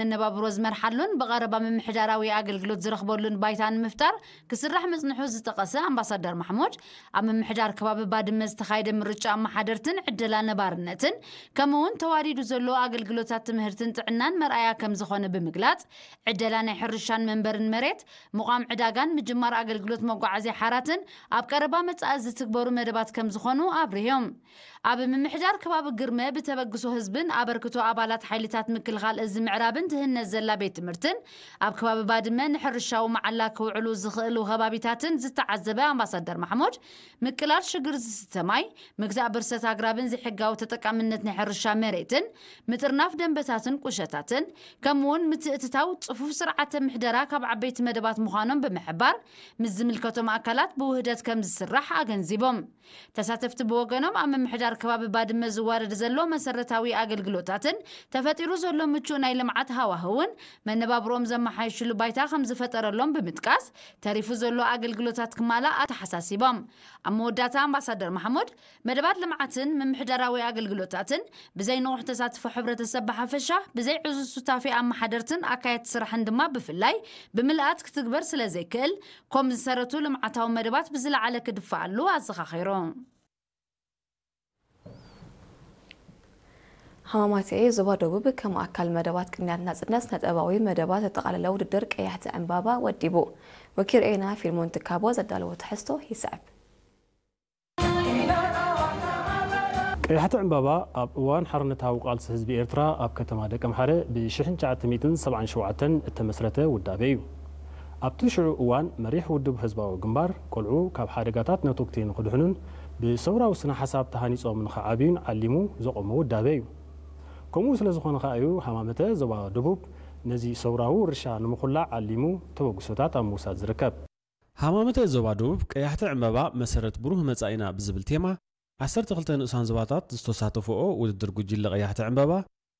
መነባብሮ ዝመርሓሉን ብቐረባ ምምሕዳራዊ ኣገልግሎት ዝረኽበሉን ባይታ ንምፍጣር ክስራሕ ምጽንሑ ዝጠቐሰ ኣምባሳደር ማሕሙድ፣ ኣብ ምምሕዳር ከባቢ ባድመ ዝተኻየደ ምርጫ ኣመሓደርትን ዕደላ ነባርነትን ከምኡ እውን ተዋዲዱ ዘሎ ኣገልግሎታት ትምህርትን ጥዕናን መርኣያ ከም ዝኾነ ብምግላጽ፣ ዕደላ ናይ ሕርሻን መንበርን መሬት፣ ምቋም ዕዳጋን ምጅማር ኣገልግሎት መጓዓዝያ ሓራትን ኣብ ቀረባ መጻኢ ዝትግበሩ መደባት ከም ዝኾኑ ኣብሪሆም። ኣብ ምምሕዳር ከባቢ ግርመ ብተበግሶ ህዝብን ኣበርክቶ ኣባላት ሓይልታት ምክልኻል እዚ ምዕራብን ትህነጽ ዘላ ቤት ትምህርትን ኣብ ከባቢ ባድመ ንሕርሻዊ መዓላ ክውዕሉ ዝኽእሉ ከባቢታትን ዝተዓዘበ ኣምባሳደር ማሕሙድ፣ ምቅላል ሽግር ዝስተ ማይ፣ ምግዛእ ብርሰት ኣግራብን ዘይሕጋዊ ተጠቃምነት ናይ ሕርሻ መሬትን ምጥርናፍ ደንበታትን ቁሸታትን ከምኡውን ምትእትታው ጽፉፍ ስርዓተ ምሕደራ ካብ ዓበይቲ መደባት ምዃኖም ብምሕባር፣ ምስ ዝምልከቶም ኣካላት ብውህደት ከም ዝስራሕ ኣገንዚቦም። ተሳተፍቲ ብወገኖም ኣብ ምምሕዳር ከባቢ ባድመ ዝዋረድ ዘሎ መሰረታዊ ኣገልግሎታትን ተፈጢሩ ዘሎ ምቹእ ናይ ልምዓት ሃዋህውን መነባብሮኦም ዘመሓይሽሉ ባይታ ከም ዝፈጠረሎም ብምጥቃስ፣ ተሪፉ ዘሎ ኣገልግሎታት ክማላእ ኣተሓሳሲቦም። ኣብ መወዳእታ ኣምባሳደር ማሕሙድ፣ መደባት ልምዓትን ምምሕዳራዊ ኣገልግሎታትን ብዘይ ንቑሕ ተሳትፎ ሕብረተሰብ ብሓፈሻ፣ ብዘይ ዕዙዝ ሱታፌ ኣመሓደርትን ኣካየድቲ ስራሕን ድማ ብፍላይ ብምልኣት ክትግበር ስለ ዘይክእል፣ ኮም ዝሰረቱ ልምዓታዊ መደባት ብዝለዓለ ክድፈኣሉ ኣዘኻኺሩ። ሃማማተኤ ዞባ ደቡብ ከም ኣካል መደባት ቅንያት ናጽነት ነጠባዊ መደባት ዘጠቓለለ ውድድር ቀያሕቲ ዕምባባ ወዲቡ። ወኪል ኤና ፊልሞን ትካቦ ዘዳለዎ ትሕዝቶ ይስዕብ። ቀያሕቲ ዕምባባ ኣብ እዋን ሓርነታዊ ቃልሲ ህዝቢ ኤርትራ ኣብ ከተማ ደቀምሓረ ብ ሽሕን ትሽዓተ ሚእትን ሰብዓን ሸውዓተን እተመስረተ ውዳበ እዩ። ኣብቲ ሽዑ እዋን መሪሕ ውድብ ህዝባዊ ግንባር፣ ቆልዑ ካብ ሓደጋታት ነቶግቲ ንኽድሕኑን ብሰውራዊ ስነ ሓሳብ ተሃኒጾም ንኽዓብዩን ዓሊሙ ዘቖሞ ውዳበ እዩ። ከምኡ ስለ ዝኾነ ከኣ እዩ ሃማመተ ዞባ ደቡብ ነዚ ሰውራዊ ውርሻ ንምኹላዕ ዓሊሙ ተበግሶታት ኣብ ምውሳድ ዝርከብ። ሃማመተ ዞባ ደቡብ ቀያሕቲ ዕምባባ መሰረት ብሩህ መጻኢና ብዝብል ቴማ ዓሰርተ ክልተ ንኡሳን ዞባታት ዝተሳተፍኦ ውድድር ጉጅለ ቀያሕቲ ዕምባባ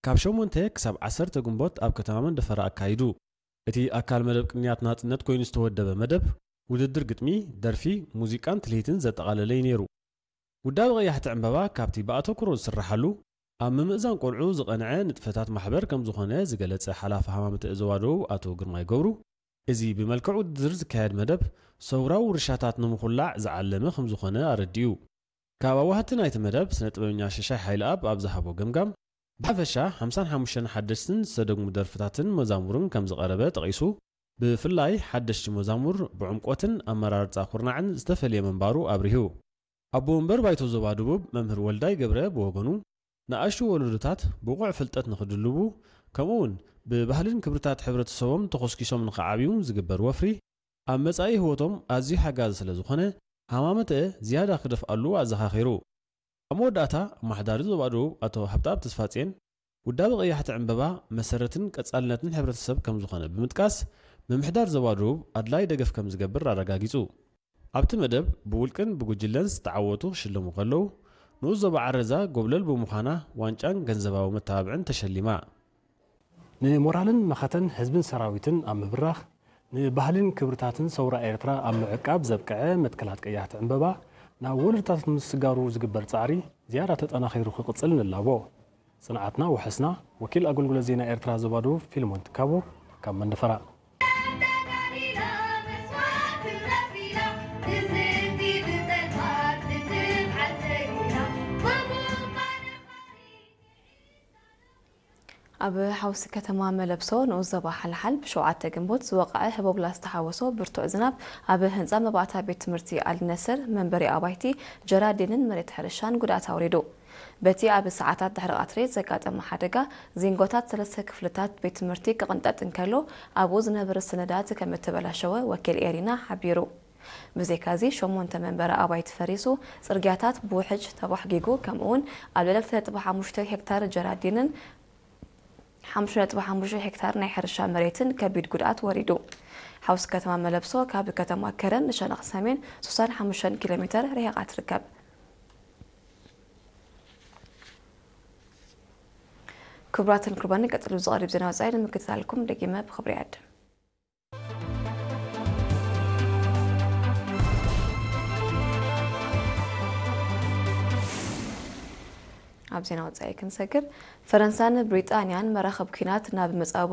ካብ ሸሞንተ ክሳብ ዓሰርተ ግንቦት ኣብ ከተማ መንደፈራ ኣካይዱ። እቲ ኣካል መደብ ቅንያት ናጽነት ኮይኑ ዝተወደበ መደብ፣ ውድድር ግጥሚ፣ ደርፊ፣ ሙዚቃን ትልሂትን ዘጠቓለለ እዩ ነይሩ። ውዳበ ቀያሕቲ ዕምባባ ካብቲ ብኣተኩሮ ዝስራሓሉ፣ ኣብ ምምእዛን ቆልዑ ዝቐንዐ ንጥፈታት ማሕበር ከም ዝኾነ ዝገለጸ ሓላፊ ሃማመተ ዞባ ደቡብ ኣቶ ግርማይ ገብሩ፣ እዚ ብመልክዕ ውድድር ዝካየድ መደብ፣ ሰውራዊ ውርሻታት ንምኹላዕ ዝዓለመ ከም ዝኾነ ኣረዲኡ። ካብ ኣዋህቲ ናይቲ መደብ፣ ስነ ጥበበኛ ሽሻይ ሓይለኣብ ኣብ ዝሃቦ ገምጋም፣ ብሓፈሻ ሓምሳን ሓሙሽተን ሓደሽትን ዝተደግሙ ደርፍታትን መዛሙርን ከም ዝቐረበ ጠቒሱ፣ ብፍላይ ሓደሽቲ መዛሙር ብዕምቆትን ኣመራርጻ ኩርናዕን ዝተፈልየ ምንባሩ ኣብሪሁ። ኣቦ ወንበር ባይቶ ዞባ ደቡብ መምህር ወልዳይ ገብረ ብወገኑ፣ ንኣሽቱ ወለዶታት ብቑዕ ፍልጠት ንኽድልቡ፣ ከምኡውን ብባህልን ክብርታት ሕብረተሰቦም ተኾስኪሶም ንኽዓብዩ ዝግበር ወፍሪ፣ ኣብ መጻኢ ህይወቶም ኣዝዩ ሓጋዚ ስለ ዝኾነ፣ ሃማመተ ዝያዳ ክደፍኣሉ ኣዘኻኺሩ። ኣብ መወዳእታ፣ ኣመሓዳሪ ዞባ ደቡብ ኣቶ ሃብተኣብ ተስፋጽዮን፣ ውዳበ ቀያሕቲ ዕምበባ መሰረትን ቀጻልነትን ሕብረተሰብ ከም ዝኾነ ብምጥቃስ፣ ምምሕዳር ዞባ ደቡብ ኣድላይ ደገፍ ከም ዝገብር ኣረጋጊጹ። ኣብቲ መደብ፣ ብውልቅን ብጉጅለን ዝተዓወቱ ክሽለሙ ከለዉ፣ ንኡስ ዞባ ዓረዛ ጎብለል ብምዃና ዋንጫን ገንዘባዊ መተባብዕን ተሸሊማ። ንሞራልን መኸተን ህዝብን ሰራዊትን ኣብ ምብራኽ፣ ንባህልን ክብርታትን ሰውራ ኤርትራ ኣብ ምዕቃብ ዘብቅዐ መትከላት ቀያሕቲ ዕምበባ ናብ ወለዶታት ንምስጋሩ ዝግበር ጻዕሪ ዝያዳ ተጠናኺሩ ክቕጽል ንላቦ። ጽንዓትና ውሕስና። ወኪል ኣገልግሎት ዜና ኤርትራ ዞባ ደቡብ ፊልሞን ትካቦ ካብ መንደፈራ። ኣብ ሓውሲ ከተማ መለብሶ ንኡስ ዞባ ሓልሓል ብሸውዓተ ግንቦት ዝወቕዐ ህቦብላ ዝተሓወሶ ብርቱዕ ዝናብ ኣብ ህንጻ መባእታ ቤት ትምህርቲ ኣልነስር መንበሪ ኣባይቲ ጀራዲንን መሬት ሕርሻን ጉድኣት ኣውሪዱ። በቲ ኣብ ሰዓታት ድሕሪ ቀትሪ ዘጋጠመ ሓደጋ ዚንጎታት ሰለስተ ክፍልታት ቤት ትምህርቲ ክቕንጠጥ እንከሎ ኣብኡ ዝነበረ ሰነዳት ከም እተበላሸወ ወኪል ኤሪና ሓቢሩ። ብዘይካዚ ሸሞንተ መንበሪ ኣባይቲ ፈሪሱ፣ ጽርግያታት ብውሕጅ ተባሕጊጉ፣ ከምኡውን ኣብ ልዕሊ ክልተ ነጥቢ ሓሙሽተ ሄክታር ጀራዲንን ሓሙሽተ ነጥቢ ሓሙሽተ ሄክታር ናይ ሕርሻ መሬትን ከቢድ ጉድኣት ወሪዱ። ሓውሲ ከተማ መለብሶ ካብ ከተማ ከረን ንሸነኽ ሰሜን ሱሳን ሓሙሽተን ኪሎ ሜተር ርሒቓ ትርከብ። ክቡራትን ክቡራን፣ ቀጽሉ ዝቐርብ ዜና ወጻኢ ንምክትታልኩም ደጊመ ብኽብሪ ይዕድም። ኣብ ዜና ወጻኢ ክንሰግር፣ ፈረንሳን ብሪጣንያን መራኸብ ኲናት ናብ መጻብቦ